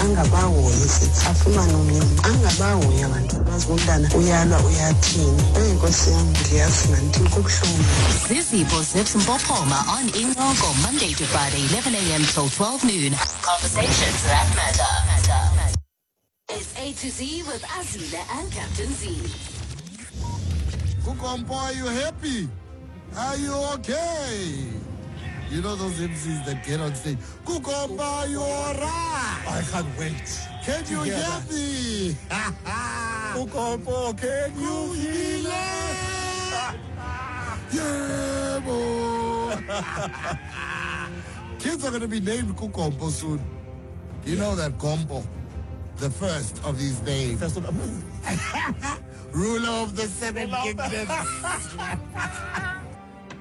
Angabahoyi sithi afumane omnye umntu. Angabahoyi abantu abazi umntana uyalwa uyathini. Eyi nkosi yam ndiyazi mandithini kubuhlungu. Zizipho Zips Mpophoma on Incoko, Monday to Friday, 11 a.m. till 12 noon. Conversations that matter. It's A to Z with Azile and Captain Z. KuGompo, are you happy? Are you okay? You know those MCs that get on stage. KuGompo, are you alright? I can't wait. Can you hear hear that. me? KuGompo, can you feel it? Yeah, boy. Kids are going to be named KuGompo soon. You know that Gompo, the first of his name. First of Ruler of the seven kingdoms.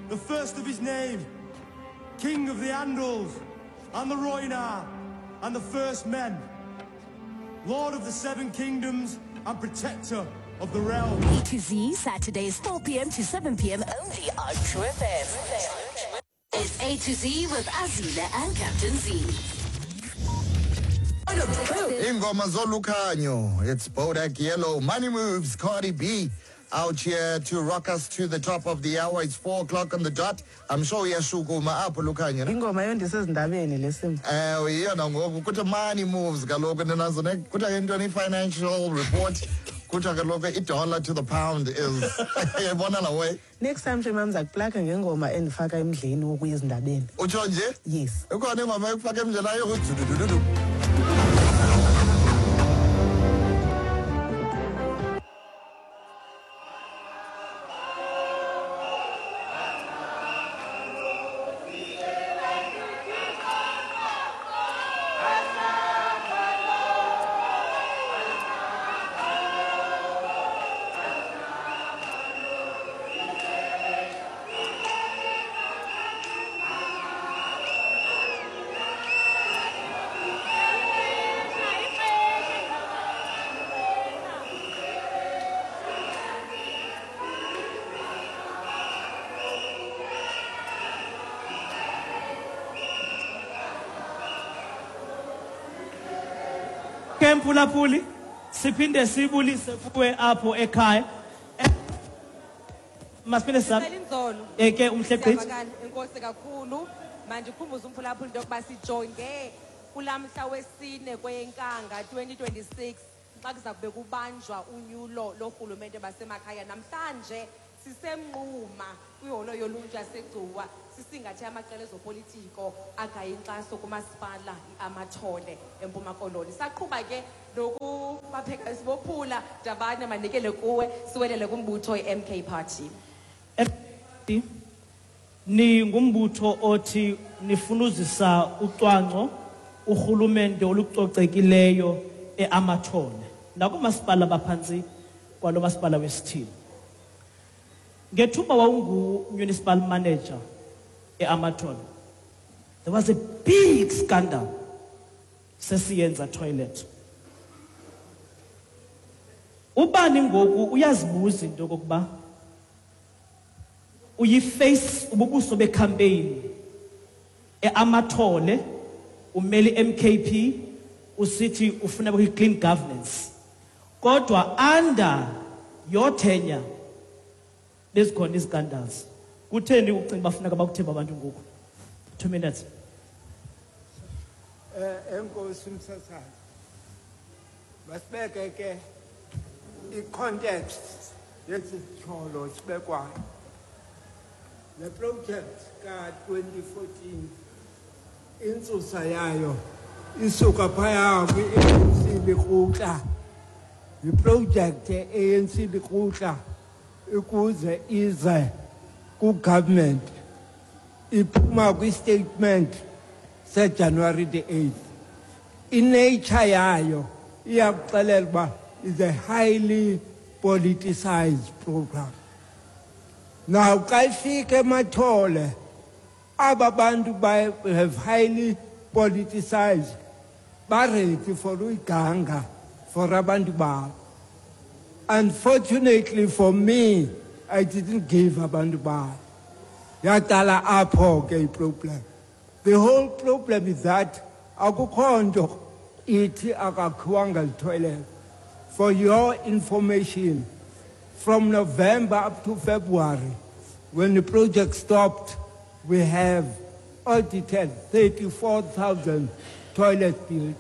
The first of his name, king of the Andals and the Rhoynar and the first men, lord of the seven kingdoms and protector of the realm. A to Z, Saturdays, 4 p.m. to 7 p.m. only on True FM. It's A to Z with Azile and Captain Z. Ingoma Zolukhanyo. It's Bodak Yellow. Money Moves, Cardi B out here to rock us to the top of the hour. It's 4 o'clock on the dot. I'm sure uyashukuma apho Lukhanyo. Ne? Ingoma yondisezindabeni lesimo. Eh iyona ngoku kuthi money moves kaloku ninazo ne kuthiwa ke ntoni i-financial report kuthiwa kaloku i-dollar to the pound is yayibona la way. Next time nje mam ndiza kuplaka ngengoma endifaka emdleni wokuya ezindabeni. Utsho nje? Yes. Ikhona ingoma ekufaka emdleni ayo dudududu. Ke mphulaphuli, siphinde sibulise kuwe apho ekhaya. Masiphinde Sicela inzolo. Ke umhle gqithi. Siyavakala. Enkosi kakhulu. Manje ukhumbuza umphulaphuli into yokuba sijonge kulaa mhla wesine kweyeNkanga 2026 xa kuza kube kubanjwa unyulo lorhulumente basemakhaya. Namhlanje siseMnquma kwiholo yoluntu yaseGcuwa, sisingathe amaqela ezopolitiko agaya inkxaso kumasipala iAmathole eMpuma Koloni. Saqhuba ke nokubapheka sibophula dabane manikele kuwe siwelele kumbutho i-MK Party. Ni ngumbutho othi nifuna uzisa ucwangco, urhulumente olucocekileyo eAmathole nakumasipala baphantsi kwalo masipala wesithili. Ngethuba wawungu-municipal manager eAmathole, there was a big scandal sesiyenza toilet. Ubani ngoku uyazibuza into yokokuba uyiface ububuso becampaign eAmathole, umele MKP, usithi ufuna clean governance, kodwa under your tenure bezikhona izicandals. Kutheni ucinga bafuneka bakuthemba abantu ngoku? 2 minutes. Enkosi msasazi. Masibeke ke i-context yesityholo sibekwayo. Le project ka-2014 intsusa yayo isuka phaya kwi-ANC Lekgotla. Yiproject ye-ANC Lekgotla ukuze ize ku-government, iphuma kwi-statement se-January the 8th. I-nature yayo iyakuxelela uba is a highly politicized program. Now xa ifika eMathole, aba bantu have highly politicized, ba-ready for uyiganga for abantu babo. Unfortunately for me, I didn't give abantu babo. Yaqala apho ke iproblem. The whole problem is that akukho nto Ithi akakhiwanga toilet. For your information, from November up to February, when the project stopped, we have audited 34,000 toilets built.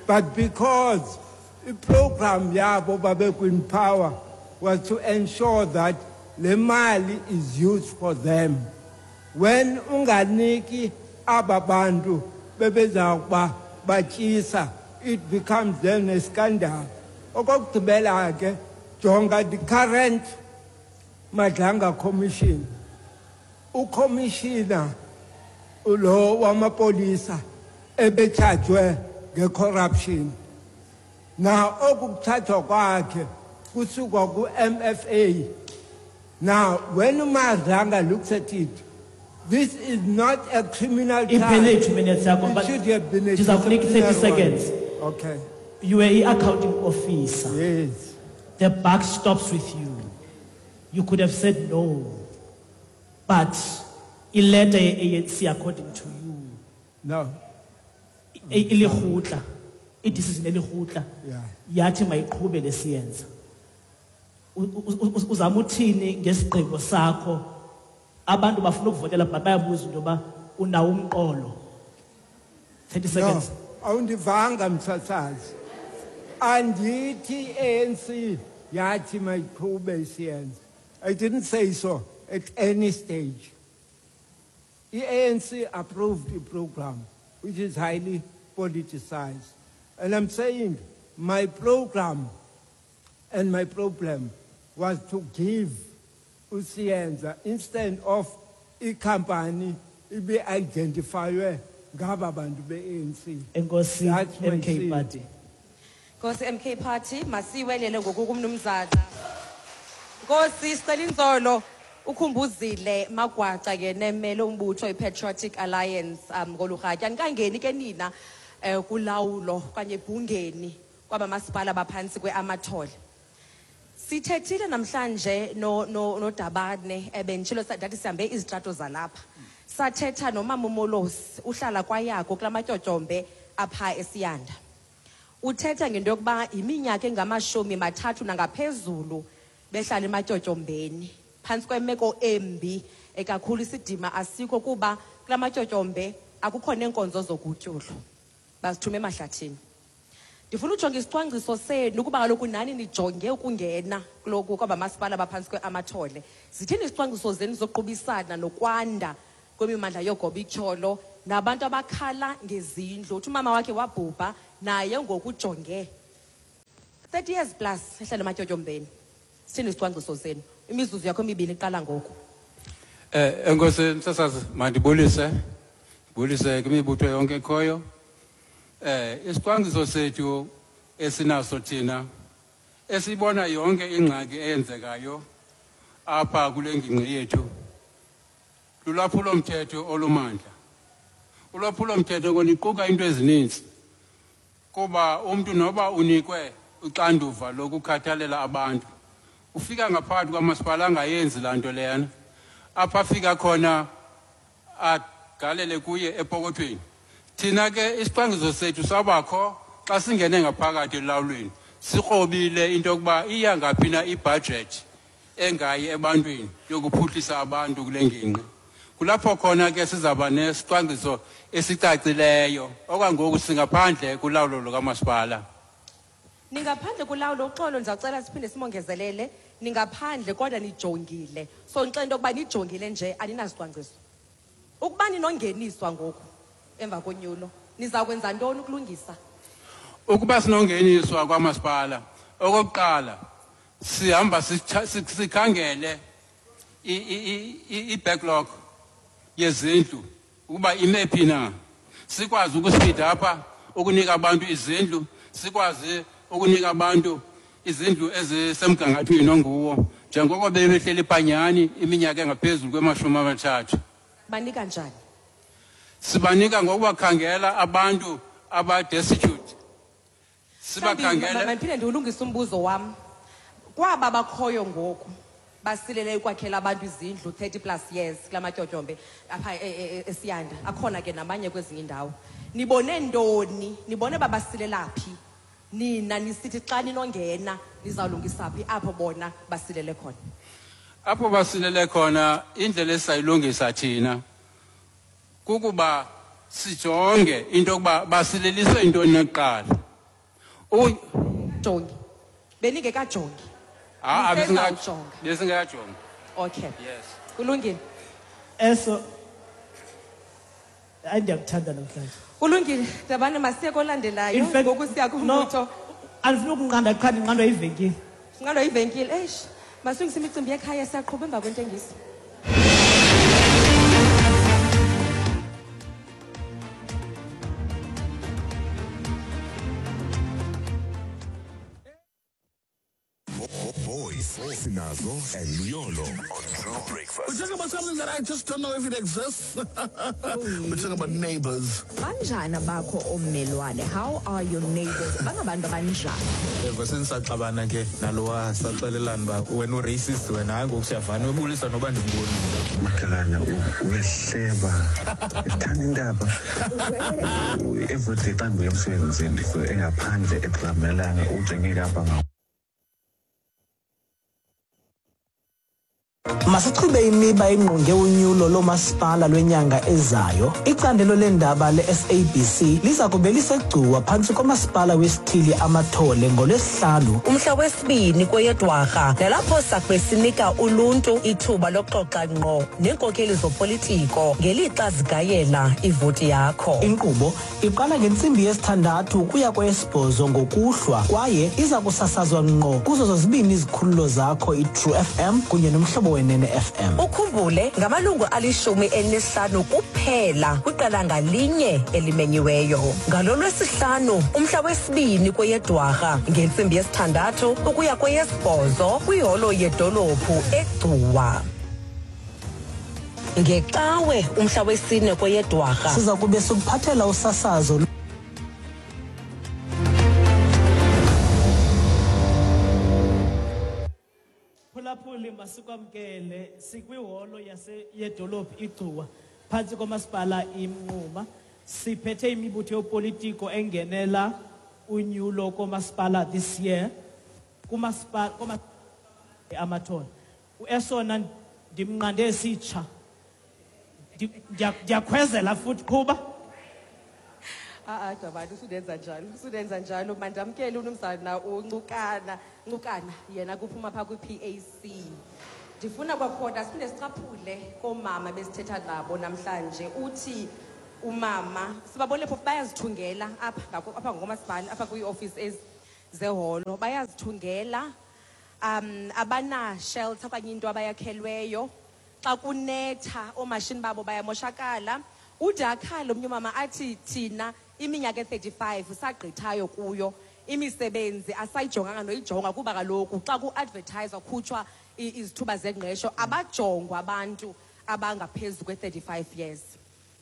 But because the program yabo babe power was to ensure that le mali is used for them. When unganiki aba bantu bebeza batyisa, it becomes then a scandal. Okokugqibela ke, jonga the current Madlanga Commission. Ucommissioner lo wamapolisa ebechajwe ngecorruption. Now okukuthathwa kwakhe kusuka ku-MFA. Now when Madlanga looks at it, this is not a criminal charge. Iphele 2 minutes yakho. It But should have been a ndiza kunika 30 disciplinary one. seconds. Okay. You were i-accounting officer. Yes. The buck stops with you. You could have said no, but ileta ye-ANC, according to you, No. Ilirhutla, i-decision elirhutla yathi mayiqhube lesiyenza. Uzama uthini ngesigqibo sakho? Abantu bafuna ukuvotela, but bayabuza into yoba unawo umqolo. 30 seconds. No, awundivanga, msasazi. Andithi ANC yathi mayiqhube isiyenza. I didn't say so at any stage. I-ANC approved the program, which is highly politicized. And I'm saying my program and my problem was to give uSiyenza instead of i-company ibe identifywe ngaba bantu be-ANC. Enkosi. That's my MK sin. Party. Nkosi MK Party, masiwelele ngoku kumnumzana. Nkosi Sicelinzolo ukhumbuzile Magwaca ke nemele umbutho iPatriotic Alliance ngolurhatya. Nikangeni ke nina kulawulo okanye ebhungeni kwabamasipala baphantsi kweAmathole. Sithethile namhlanje no no noDabane, ebentshilo ndathi sihambe izitrato zalapha. Sathetha nomama uMolosi, uhlala kwayako kulamatyotyombe apha eSiyanda. Uthetha ngento yokuba iminyaka engama-30 nangaphezulu behlala ematyotyombeni phantsi kwemeko embi ekakhulu, isidima asikho kuba kula matyotyombe akukho neenkonzo zogutyulo, bazithume emahlathini. Ndifuna ujonga isicwangciso senu kuba kaloku nani nijonge ukungena kuloku kwabamasipala baphantsi kweAmathole. Zithini izicwangciso zenu zokuqubisana nokwanda kwemimandla yogobityholo nabantu abakhala ngezindlu? Uthi umama wakhe wabhubha, naye ngoku ujonge 30 years plus ehlala ematyotyombeni. Sithini isicwangciso senu? Imizuzu yakho emibini iqala ngoku. Enkosi msasazi, mandibulise. Bulise kwimibutho yonke ekhoyo. Isicwangciso sethu esinaso thina, esibona yonke ingxaki eyenzekayo apha kule ngingqi yethu, lulwaphulo mthetho olumandla. Ulwaphulo mthetho koniquka into ezininzi, kuba umntu noba unikwe uxanduva lokukhathalela abantu, ufika ngaphakathi kwamasipala angayenzi laa nto leyana. Apha afika khona agalele kuye epokothweni. Thina ke isicwangciso sethu sabakho xa singene ngaphakathi elawulweni, sikrobile into yokuba iya ngaphi na ibhajethi engayi ebantwini yokuphuhlisa abantu kule ngingqi. Kulapho khona ke sizawuba nesicwangciso esicacileyo. Okwangoku singaphandle kulawulo lukamasipala. Ningaphandle kulawulo, uxolo, ndizawucela siphinde simongezelele. Ningaphandle kodwa nijongile, so ndixela into yokuba nijongile nje, aninazicwangciso. Ukuba ninongeniswa ngoku emva konyulo, niza kwenza ntoni ukulungisa? Ukuba sinongeniswa kwamasipala, okokuqala sihamba sikhangele i-backlog yezindlu ukuba ime phi na, sikwazi ukuspeed apha ukunika abantu izindlu, sikwazi ukunika abantu izindlu ezisemgangathweni onguwo, njengoko bebehleli phanyani iminyaka engaphezulu kwema-30. Banika njani? Sibanika ngokubakhangela abantu abadestitute, sibakhangele. Mandiphinde ndiwulungise umbuzo wam. Kwaba bakhoyo ngoku basilele ukwakhela abantu izindlu 30 plus years kula matyotyombe apha eSiyanda, akhona ke namanye kwezinye iindawo. Nibone ntoni? Nibone babasilela phi? Nina nisithi xa ninongena nizawulungisa phi apho bona basilele khona? Apho basilele khona, indlela esayilungisa thina kukuba sijonge into yokuba basileliswe intoni nakuqala. Jongi. Beningekajongi. Ah, Nisezawujonga. Besingekajongi. Okay. Yes. Kulungile. Eso hayi, ndiyakuthanda namhlanje. Kulungile. Dabane, masiye kolandelayo. In fact, Ngoku siya kumbutho. No, andifuna ukunqanda qha ndinqandwa yivenkile. Sinqandwa yivenkile. Eish. Masilungise imicimbi yekhaya, siyaqhuba emva kwentengiso. Boys, Sinazo and Luyolo on True Breakfast. We're talking about something that I just don't know if it exists. We're talking about neighbors. Banjani abakho ommelwane? How are your neighbors? Bangabantu abanjani? Eva, sendisaxabana ke nalowa, saxelelana uba wena uracist wena. Hayi, ngoku siyavana, ubulisa noba ndimboni. Makhelwane uyehleba, ethanda indaba. Everyday xa ndibuya emsebenzini ndifike engaphandle edramelanga, ujenge apha ngawo. Masichube imiba engqonge unyulo loomasipala lwenyanga ezayo. Icandelo leendaba le-SABC liza kube liseGcuwa phantsi komasipala wesithili Amathole ngoLwesihlanu. Umhla wesibini kweyeDwarha, nalapho sakube sinika uluntu ithuba lokuxoxa ngqo neenkokeli zopolitiko ngelixa zigayela ivoti yakho. Inkqubo iqala ngentsimbi yesithandathu ukuya kweyesibhozo ngokuhlwa kwaye iza kusasazwa ngqo kuzo zozibini izikhululo zakho, iTrue FM kunye noMhlobo Wenene FM. Ukhumbule, ngamalungu 15 kuphela kwiqela ngalinye elimenyiweyo. Ngalo Lwesihlanu, umhla wesibini kweyeDwarha, ngentsimbi yesithandathu ukuya kweyesibhozo kwiholo yedolophu eGcuwa. NgeCawe, umhla wesine kweyeDwarha, siza kube sikuphathela usasazo. Phulaphuli, masikwamkele sikwiholo yase yedolophu iGcuwa phantsi komasipala iMnquma. Siphethe imibutho yopolitiko engenela unyulo komasipala this year kumasipala koma Amathole. Uesona ndimnqande esitsha. Ndiyakhwezela futhi, qhuba. Ah, Dabane, usudenza njalo, usudenza njalo. Mandamkele unumzana uNcukana, Ncukana, yena kuphuma phaa kwi-PAC. Ndifuna kwakhona siphinde sicaphule koomama besithetha nabo namhlanje. Uthi umama, sibabone phofu bayazithungela apha apha ngokomasipala, apha kwiiofisi ezi zeholo, bayazithungela. Abana-shelter okanye into abayakhelweyo. Xa kunetha, oomashini babo bayamoshakala. Ude akhale omnye umama athi thina iminyaka e-35 sagqithayo kuyo imisebenzi asayijonganga noyijonga, kuba kaloku xa ku-advertiswa khutshwa izithuba zengqesho abajongwa abantu abangaphezu kwe-35 years.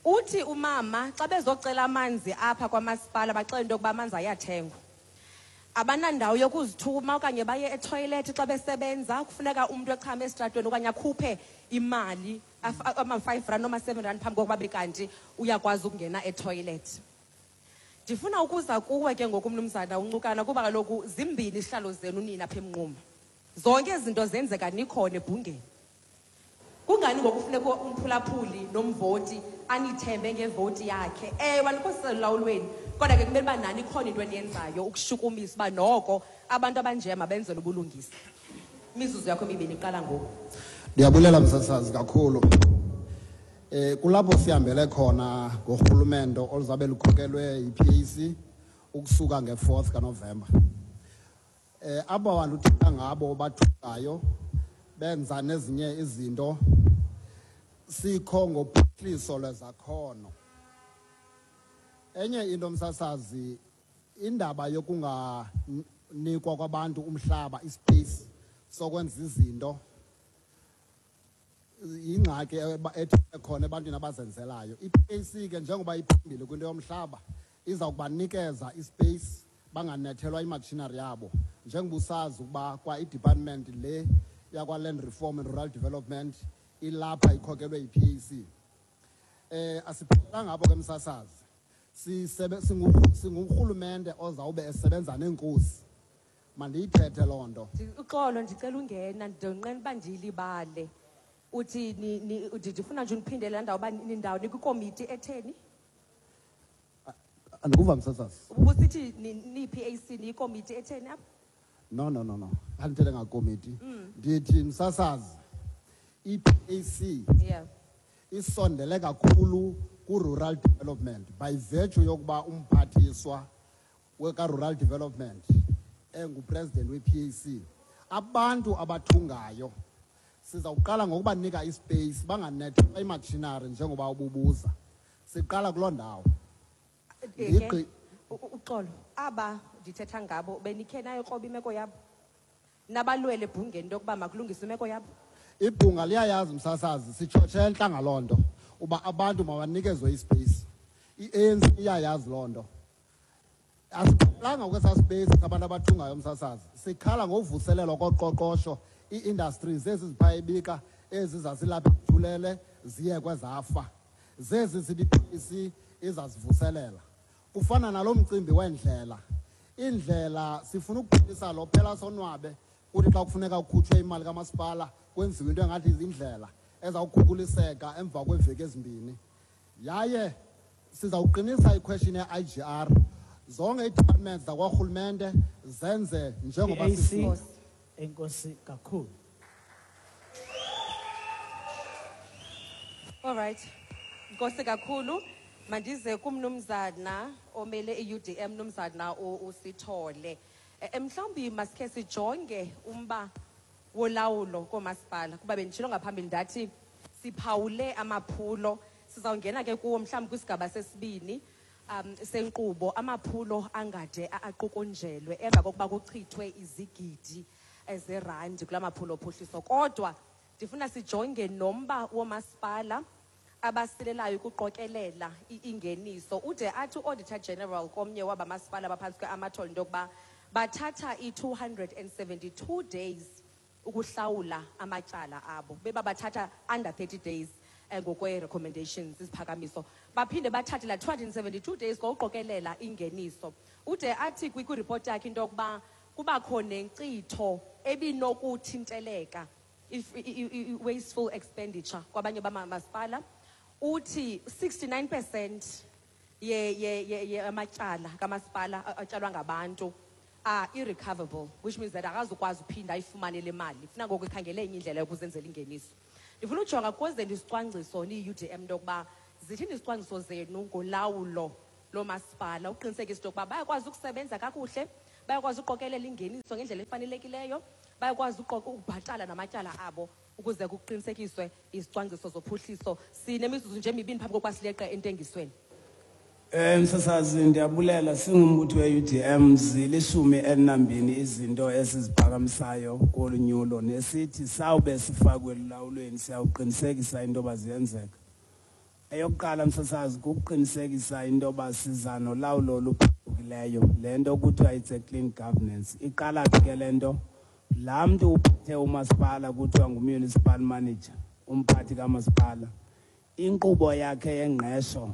Uthi umama xa bezocela amanzi apha kwamasipala baxele into yokuba amanzi ayathengwa. Abanandawo yokuzithuma okanye baye ethoyilethi xa besebenza, kufuneka umntu echame esitratweni okanye akhuphe imali ama-5 rand noma-7 rand phambi kokuba be kanti uyakwazi ukungena ethoyilethi. Ndifuna ukuza kuwe ke ngoku, mnumzana uNcukana, kuba kaloku zimbini izihlalo zenu nina apha eMnquma. Zonke ezi zinto zenzeka nikhona ebhungeni. Kungani ngoku kufuneka umphulaphuli nomvoti anithembe ngevoti yakhe? Ewe, anikho selulawulweni, kodwa ke kumele uba nani ikhona into eniyenzayo ukushukumisa uba noko abantu abanje mabenzelwe ubulungisa. Imizuzu yakho emibini iqala ngoku. Ndiyabulela, msasazi, kakhulu. Kulapho sihambele khona ngorhulumento oluzabe lukhokelwe yi-PAC ukusuka nge-4th kaNovemba. Aba bantu uthetha ngabo bathukayo benza nezinye izinto, sikho ngophuhliso lwezakhono. Enye into, msasazi, indaba yokunganikwa kwabantu umhlaba, ispace sokwenza izinto, yingxaki ethi khona ebantwini abazenzelayo. I-PAC ke, njengoba iphambili kwinto yomhlaba, iza kubanikeza ispace banganethelwa imachinery yabo, njengoba usazi ukuba kwa i-department le yakwa-Land Reform and Rural Development ilapha ikhokelwe yi-PAC. Asiphelelanga apho ke, msasazi. Singurhulumente ozawube esebenza neenkosi. Mandiyithethe loo nto. Uxolo, ndicela ungena, ndonqena uba ndiyilibale. Uthi ndifuna nje undiphindele laa ndawo uba nindawo nikwikomiti etheni? Andikuva, msasazi. Ubusithi niyi-PAC niyikomiti etheni apha? No, no, no, no. Andithethe ngakomiti. Ndithi, msasazi, i-PAC isondele kakhulu ku-rural development by virtue yokuba umphathiswa weka-rural development engupresident we-PAC. Abantu abathungayo sizawuqala ngokubanika ispace, banganethelwa imachinery njengoba ububuza. Siqala kuloo ndawo. Ke, uxolo, aba ndithetha ngabo benikhe nayikroba imeko yabo? Nabalwele ebhungeni into yokuba makulungiswe imeko yabo? Ibhunga liyayazi, msasazi, sitshotshe entla ngaloo nto uba abantu mabanikezwe ispace. I-ANC iyayazi loo nto. Asiphelanga kwesaa space sabantu abathungayo, msasazi. Sikhala ngovuselelwa koqoqosho, ii-industries ezi ziphaa ebika, ezi zazilapha ethulele ziye kwezafa, zezi sithi i-PAC izazivuselela. Kufana nalo mcimbi weendlela. Iindlela sifuna ukuphelisa lo phela sonwabe, kuthi xa kufuneka kukhutshwe imali kamasipala kwenziwe into engathi zindlela ezawukhukuliseka emva kweeveki ezimbini. Yaye sizawuqinisa iquestion ye-IGR, zonke ii-departments zakwarhulumente zenze njengoba PAC, sifuna. Enkosi kakhulu. All right. Nkosi kakhulu. Mandize kumnumzana omele i-UDM, mnumzana uSithole. Mhlawumbi masikhe sijonge umba wolawulo koomasipala, kuba benditshilo ngaphambili ndathi siphawule amaphulo, sizawungena ke kuwo mhlawumbi kwisigaba sesibini senkqubo, amaphulo angade aqukunjelwe emva kokuba kuchithwe izigidi zerandi kula maphulo ophuhliso. Kodwa ndifuna sijonge nomba womasipala abasilelayo ukuqokelela ingeniso. Ude athi u-Auditor General komnye wabamasipala abaphantsi kwe-Amathole into yokuba bathatha i-272 days ukuhlawula amatyala abo, beba bathatha under 30 days ngokwe-recommendations, iziphakamiso, baphinde bathathe la 272 days ngokuqokelela ingeniso. Ude athi kwiripoti yakhe into yokuba kubakho nenkcitho ebinokuthinteleka, if wasteful expenditure kwabanye bamamasipala. Uthi 69% ye amatyala kamasipala atyalwa ngabantu are irrecoverable, which means that akazukwazi uphinda ayifumane le mali, funa ngoku ikhangele enye indlela yokuzenzela ingeniso. Ndifuna ujonga kwezenu isicwangciso niyi-UDM into yokuba zithini izicwangciso zenu ngolawulo lomasipala, uqinisekisa into yokuba bayakwazi ukusebenza kakuhle, bayakwazi uqokelela ingeniso ngendlela efanelekileyo, bayakwazi ukubhatala namatyala abo ukuze kuqinisekiswe izicwangciso zophuhliso. Sinemizuzu nje emibini phambi kokuba sileqe entengisweni. Msasazi, ndiyabulela. Singumbutho we-UDM, zili-12 izinto esiziphakamisayo kolu nyulo nesithi sawube sifakwe elulawulweni siyawuqinisekisa into yoba ziyenzeka. Eyokuqala, msasazi, kukuqinisekisa into yoba siza nolawulo oluphucukileyo, le nto kuthiwa it's a clean governance. Iqala phi ke le nto? Laa mntu uphethe umasipala kuthiwa ngu-municipal manager, umphathi kamasipala, inkqubo yakhe yengqesho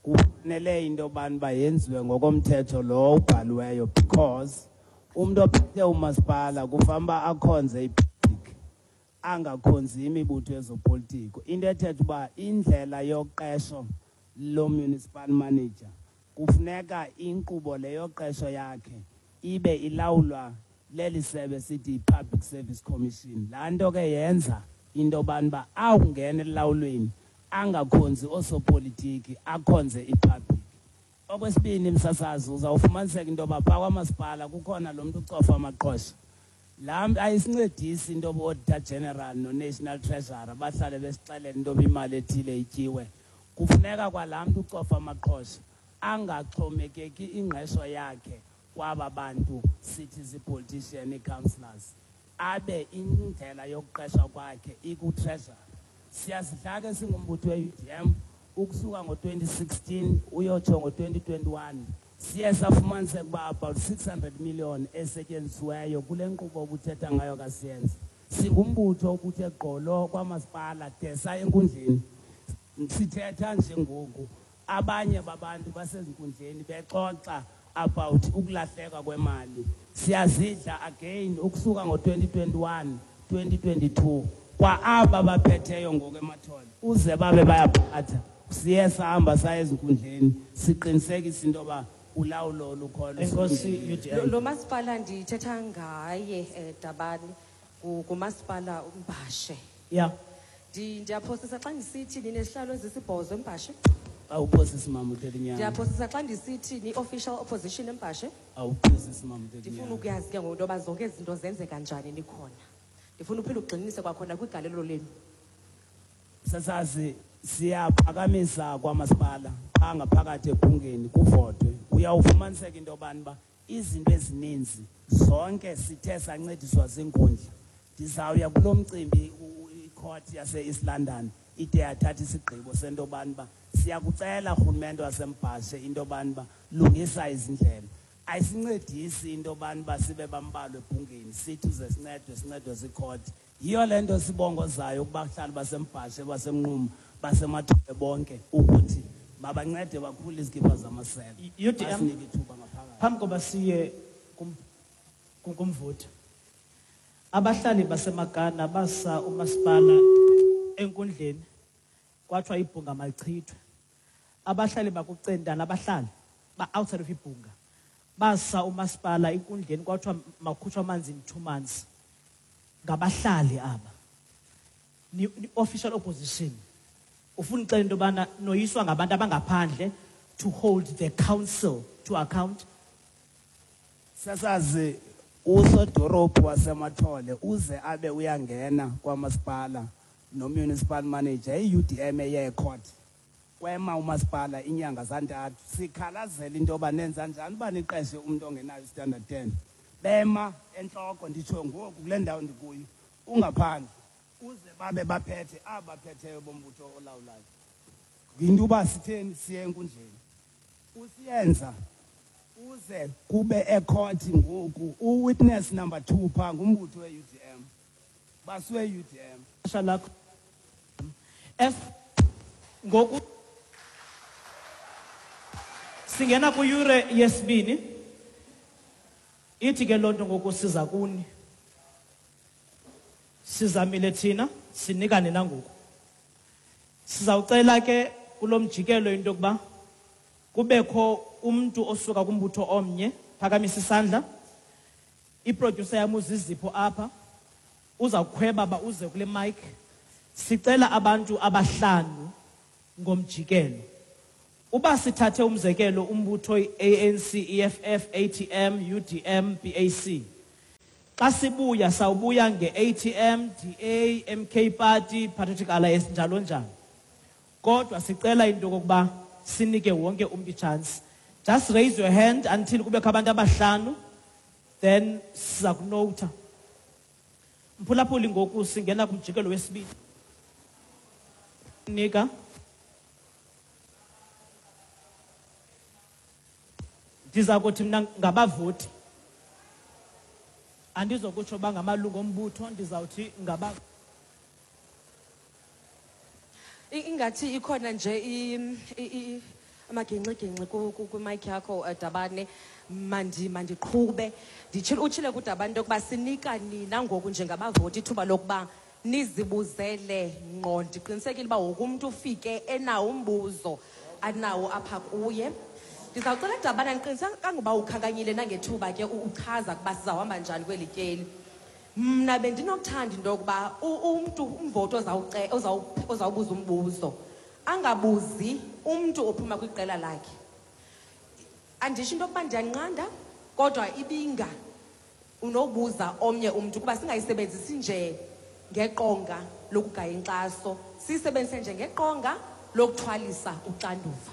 kufanele into yobani uba yenziwe ngokomthetho lo ubhaliweyo, because umntu ophethe umasipala kufanele uba akhonze ipublic, angakhonzi imibutho yezopolitiko. Into ethetha uba indlela yoqesho lo municipal manager, kufuneka inkqubo le yoqesho yakhe ibe ilawulwa leli sebe sithi yi-Public Service Commission. Laa nto ke yenza into yobani uba awungena elulawulweni angakhonzi oosopolitiki, akhonze ipublic. Okwesibini, msasazi, uzawufumaniseka into yoba phaa kwamasipala kukhona lo mntu ucofa amaqhosha. Laa mntu ayisincedisi into yoba auditor general no-national treasurer bahlale besixelela into yoba imali ethile ityiwe. Kufuneka kwalaa mntu ucofa amaqhosha angaxhomekeki ingqesho yakhe kwaba bantu sithi zii-politician, ii-councillors, abe indlela yokuqeshwa kwakhe iku-treasury. Siyazidla ke singumbutho we-UDM, ukusuka ngo-2016 uyotsho ngo-2021 siye safumaniseka uba about 600 million esetyenzisiweyo kule nkqubo obuthetha ngayo kaSiyenza. Singumbutho obuthe gqolo kwamasipala de saya enkundleni. Sithetha nje ngoku Abanye babantu basezinkundleni bexoxa about ukulahleka kwemali. Siyazidla again ukusuka ngo-2021, 2022 kwa aba baphetheyo ngoku eMathole uze babe bayaphatha. Siye sahamba saya ezinkundleni siqinisekisa into yoba ulawulo lukhona. Enkosi, UDM. Lo masipala ndithetha ngaye, Dabane, ngumasipala uMbhashe. Ndiyaphosisa xa ndisithi ninesihlalo ezisibhozo eMbhashe? Awuphosisi mama uThelinyana. Ndiyaphosisa xa ndisithi ni-official opposition eMbhashe? Awuphosisi mama uThelinyana. Ndifuna ukuyazi ke ngoku into yoba zonke ezi zinto zenzeka njani nikhona. Ndifuna uphinde ugxininise kwakhona kwigalelo lenu. Sasazi siyaphakamisa kwamasipala phaa ngaphakathi ebhungeni kuvotwe. Uyawufumaniseka into yobani uba izinto ezininzi zonke sithe sancediswa ziinkundla. Ndizawuya kulo mcimbi icourt yase-East London ide yathatha isigqibo sento yobani uba siyakucela rhulumente waseMbhashe into yobani uba lungisa izindlela. Ayisincedisi into yobani uba sibe bambalwa ebhungeni sithi uze sincedwe, sincedwe ziicourt. Yiyo le nto sibongozayo kubahlali baseMbhashe, baseMnquma, baseMathole bonke ukuthi mabancede bakhule izikipa zamasele. UDM, Basinike ithuba ngaphakathi. Phambi koba siye kumvoti, abahlali baseMagana basa umasipala enkundleni kwathiwa ibhunga malichithwe. Abahlali bakuCentane, abahlali ba outside of ibhunga basa umasipala enkundleni kwathiwa makukhutshwe amanzi in 2 months. Ngabahlali aba. Ni official opposition. Ufuna uxela into yobana noyiswa ngabantu abangaphandle to hold the council to account. Sasazi usodorophu waseMathole uze abe uyangena kwamasipala no-municipal manager i-UDM eye ecourt. Kwema umasipala inyanga zantathu sikhalazela into yoba nenza njani uba niqeshe umntu ongenayo standard 10. Bema entloko nditsho ngoku kule ndawo ndikuyo ungaphandle uze babe baphethe abaphetheyo bombutho olawulayo. Yinto uba sitheni siye enkundleni. Usiyenza uze kube ecourt ngoku uwitness number 2 phaa ngumbutho we-UDM. Basuwe UDM. Xesha lakho. F ngoku singena kwiyure yesibini. Ithi ke loo nto ngoku siza kuni. Sizamile thina sinikane nangoku. Sizawucela ke kulo mjikelo into yokuba kubekho umntu osuka kumbutho omnye, phakamisa isandla. Iproducer yam uZizipho apha uzawukhweba ba uze kule mic. Sicela abantu abahlanu ngomjikelo. Uba sithathe umzekelo umbutho i-ANC, EFF, ATM, UDM, PAC. Xa sibuya sawubuya nge-ATM, DA, MK Party, Patriotic Alliance njalo njalo. Kodwa sicela into yokokuba sinike wonke umntu ichance. Just raise your hand until kubekho abantu abahlanu, then siza kunota. Mphulaphuli, ngoku singena kumjikelo wesibini. Nika. Ndiza kuthi mna ngabavoti. Andizokutsho uba ngamalungu ombutho, ndizawuthi ngaba Ingathi ikhona nje amagingxigingxi kwimic yakho, Dabane. Mandiqhube. Nditshile, utshile kuDabane into yokuba sinika nina ngoku njengabavoti ithuba lokuba nizibuzele ngqo. Ndiqinisekile uba wonke umntu ufike enawo umbuzo anawo apha kuye. Ndizawucela Dabane, andiqinisekanga uba ukhankanyile nangethuba ke uchaza ukuba sizawuhamba njani kweli tyeli. Mna bendinokuthanda into yokuba umntu, umvoti ozawubuza umbuzo angabuzi umntu ophuma kwiqela lakhe. Andisho into yokuba ndiyanqanda, kodwa ibinga unobuza omnye umntu kuba singayisebenzisi nje ngeqonga lokugaya inkxaso, siyisebenzise nje ngeqonga lokuthwalisa uxanduva.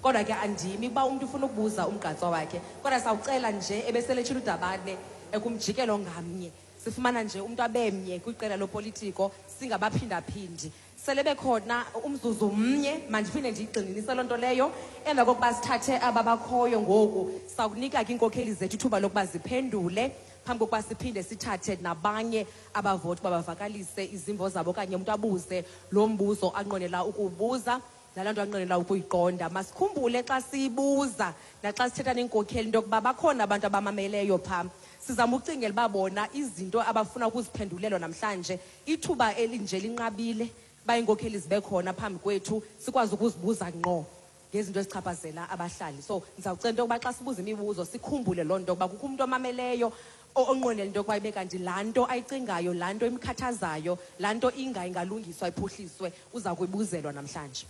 Kodwa ke andimi uba umntu ufuna ukubuza umgqatswa wakhe, kodwa sawucela nje ebeseletshile uDabane ekumjikelo ngamnye sifumana nje umntu abemnye kwiqela lopolitiko, singabaphindaphindi. Sele bekhona umzuzu mnye, mandiphinde ndiyigxininise loo nto leyo. Emva kokuba sithathe aba bakhoyo ngoku, sawukunika ke iinkokheli zethu ithuba lokuba ziphendule phambi kokuba siphinde sithathe nabanye abavoti uba bavakalise izimvo zabo okanye umntu abuze lo mbuzo anqwenela ukuwubuza. nalaa nto anqwenela ukuyiqonda. Masikhumbule xa siyibuza naxa sithetha neenkokheli into yokuba bakhona abantu abamameleyo phaa. Sizama ukucingela uba bona izinto abafuna ukuziphendulelwa namhlanje, ithuba elinje linqabile uba iinkokheli zibe khona phambi kwethu sikwazi ukuzibuza ngqo ngezinto ezichaphazela abahlali. So ndizawucela into yokuba xa sibuza imibuzo sikhumbule loo nto yokuba kukho umntu omameleyo onqwenela into yokuba ibe kanti laa nto ayicingayo, laa nto imkhathazayo, laa nto ingalungiswa iphuhliswe, uza kuyibuzelwa namhlanje.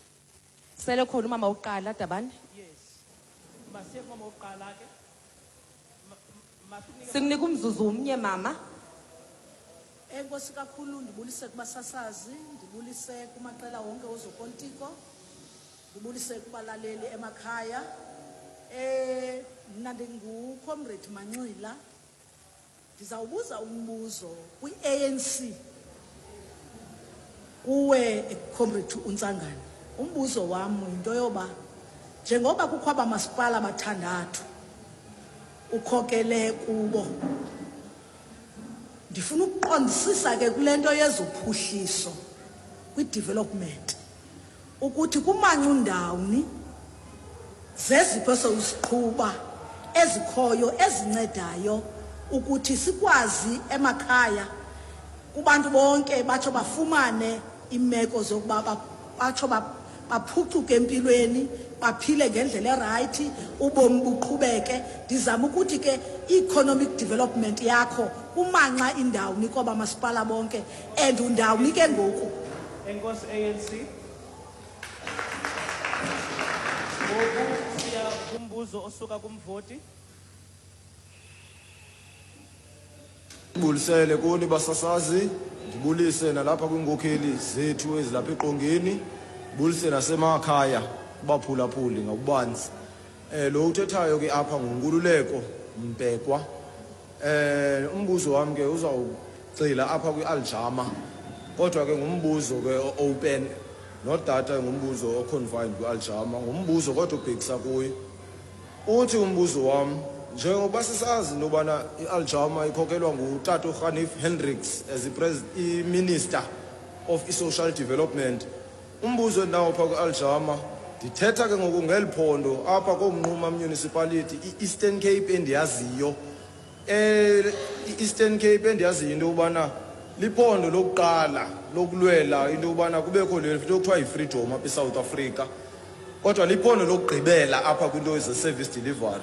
Sele khona umama wokuqala, Dabane? Yes. Masiye kumama wokuqala ke. Sikunika umzuzu umnye, mama. Enkosi kakhulu, ndibulise kubasasazi, ndibulise kumaqela wonke ozopolitiko, ndibulise kubalaleli emakhaya. Mna ndinguComrade Manxila. Ndizawubuza umbuzo kwi-ANC kuwe Comrade uNtsangane. Umbuzo wam yinto yoba njengoba kukho abamasipala abathandathu ukhokele kubo, ndifuna ukuqondisisa ke kule nto yezophuhliso kwi-development ukuthi kumancundawuni zezipho esewusiqhuba ezikhoyo ezincedayo ukuthi sikwazi emakhaya kubantu bonke batsho bafumane imeko zokuba batsho baphucuke empilweni, baphile ngendlela erayithi, ubomi buqhubeke. Ndizama ukuthi ke i-economic development yakho kumanxa indawuni koba masipala bonke and undawuni ke ngoku. Enkosi ANC. Ngoku siya kumbuzo osuka kumvoti. Ndibulisele kuni basasazi, ndibulise nalapha kwiinkokheli zethu ezilapha eqongeni, ndibulise nasemakhaya kubaphulaphuli ngokubanzi. Lo uthethayo ke apha nguNkululeko Mbekwa. Umbuzo wam ke uzawugxila apha kwi-Aljama, kodwa ke ngumbuzo ke o-open, not that ngumbuzo o-confined kwi-Aljama, ngumbuzo kodwa ubhekisa kuyo. Uthi umbuzo wam, njengoba sisazi into yobana i-Aljama ikhokelwa ngutata uRhanif Hendricks as i-Minister of i-Social Development, umbuzo endinawo phaa kwi-Aljama, ndithetha ke ngoku ngeli phondo apha koMnquma Municipality, i-Eastern Cape endiyaziyo. I-Eastern Cape endiyaziyo into yobana liphondo lokuqala lokulwela into yobana kubekho le nto kuthiwa yi-freedom apha eSouth Africa, kodwa liphondo lokugqibela apha kwinto ze-service delivery.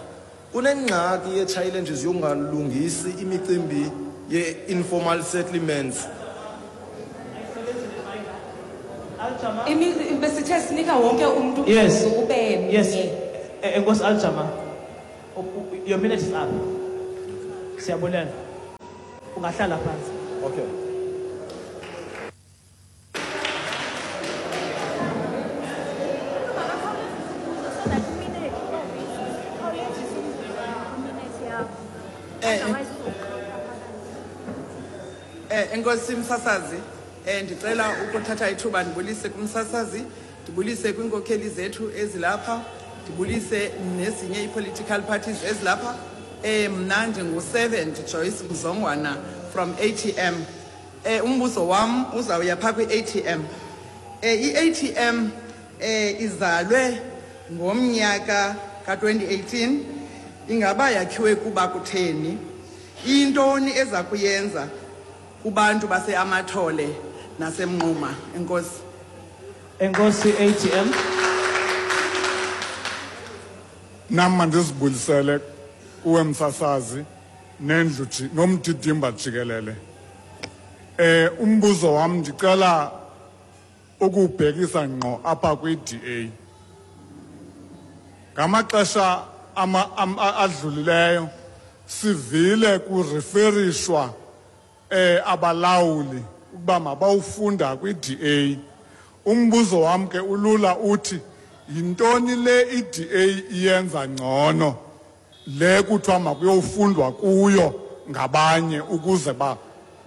Kunengxaki ye-challenges yokungalungisi imicimbi ye-informal settlements. Besithe sinika wonke umntu Yes. ube mnye. Yes. Enkosi Aljama, your minute is up. Siyabulela. Ungahlala phansi. Okay. Enkosi msasazi, ndicela ukuthatha ithuba ndibulise kumsasazi, ndibulise kwiinkokheli zethu ezilapha, ndibulise nezinye ii-political parties ezilapha. Mna ndingu-Servant Joyce Mzongwana from ATM. Umbuzo wam uzawuya phaa kwi-ATM. I-ATM izalwe ngomnyaka ka-2018, ingaba yakhiwe kuba kutheni? Intoni eza kuyenza kubantu baseAmathole naseMnquma? Enkosi. Enkosi ATM. Nam mandizibulisele kuwe msasazi nendlu nomdidimba jikelele. Umbuzo wam ndicela ukubhekisa ngqo apha kwi-DA. Ngamaxesha adlulileyo sivile kureferishwa abalawuli ukuba mabawufunda kwi-DA. Umbuzo wam ke ulula uthi, yintoni le i-DA iyenza ngcono le kuthiwa makuyofundwa kuyo ngabanye ukuze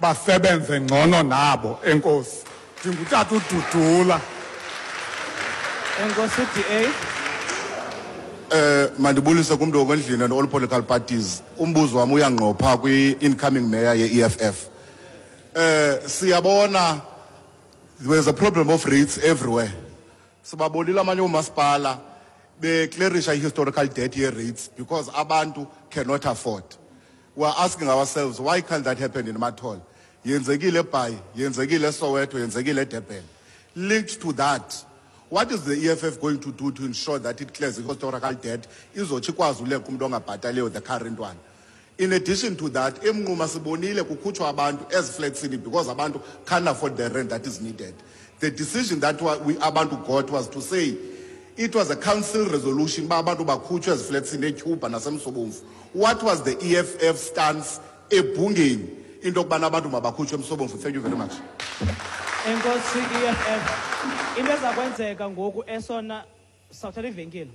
basebenze ngcono nabo? Enkosi. Ndingutata uDudula. Enkosi DA. Mandibulise kumntu okwendlini and all political parties. Umbuzo wam uyangqopha kwi-incoming mayor ye-EFF. Siyabona there's a problem of rates everywhere. Sibabonile amanye oomasipala beclearisha i-historical debt ye-rates because abantu cannot afford. We are asking ourselves, why can't that happen in Amathole? Yenzekile eBhayi, yenzekile eSoweto, yenzekile eDurban. Linked to that, what is the EFF going to do to ensure that it clears the historical debt izotsho ikwazi uleqa umntu ongabhataliyo the current one? In addition to that, eMnquma sibonile kukhutshwa abantu ezifletsini because abantu can't afford the rent that is needed. The decision that we abantu got was to say it was a council resolution uba abantu bakhutshwe ezifletsini eTyhuba naseMsobomvu. What was the EFF stance ebhungeni into yokubana abantu mabakhutshwe eMsobomvu? Thank you very much. Enkosi EFF. Into eza kwenzeka ngoku esona, sawuthatha ivenkile.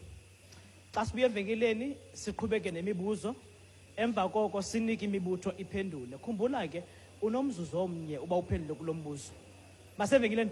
Xa sibuya evenkileni siqhubeke nemibuzo, emva koko sinike imibutho iphendule. Khumbula ke unomzuzu omnye uba uphendule kulo mbuzo. Masevenkileni.